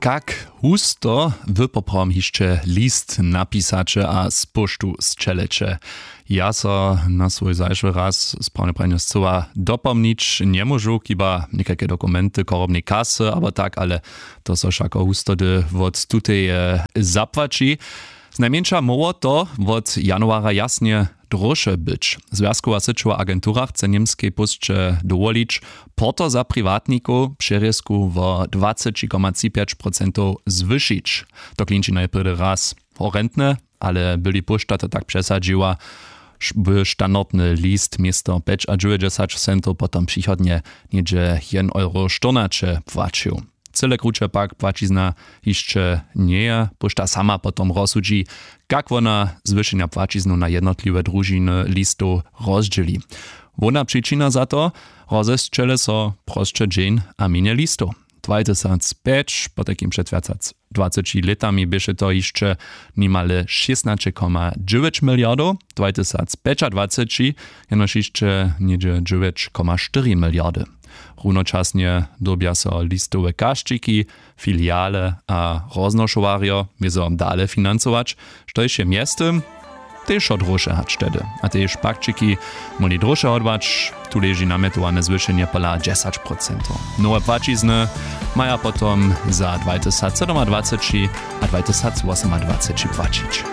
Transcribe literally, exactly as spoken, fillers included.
Kak husto wy poprawom hišće list napisaće a z poštu sćeleće? Ja so na swój zašły raz sprawne pranje scyła dopomnić njemóžu, chiba někajke dokumenty chorobnej kasy abo tak, ale to so wšako hustody wot tuteje zapłaći. Znajmjeńša móhło to wot januara jasnje dróše być. Zwjazkowa syćowa agentura chce němskej pósće dowolić porto za priwatnikow přerězku wo dwaceći koma tři pjeć procentow zwyšić. To klinči najprjedy raz horentne, ale byli póšta to tak přesadźiła, by standardny list město pjećadźewjećdźesać centow potom přichodnje něhdźe jedyn euro štyrnaće płaćił. Cyle kruće pak płaćizna hišće njeje, póšta sama potom rozsudźi, kak wona zwyšenja płaćiznu na jednotliwe družiny listow rozdźěli. Hłowna přičina za to: rozesćele so prosće dźeń a mjenje listow. Dwajtysacpjeć, potajkim před wjac hač dwaceći lětami běše to hišće nimale šěsnaće koma dźewjeć miliardow, dwajtysacpjećadwaceći jenož hišće něhdźe dźewjeć koma štyri miliardy. Runočasnje dyrbja so listowe kašćiki, filiale a roznošowarjo wězo dale financować, štož je mjeztym tež wšo dróše hač tehdy. A tež pakćiki móhli dróše hodłać. Tu leži namjetowane zwyšenje pola dźesać procentow. Nowe płaćizny maja potom za dwajtysacsydomadwaceći a dwajtysacwosomadwaceći płaćić.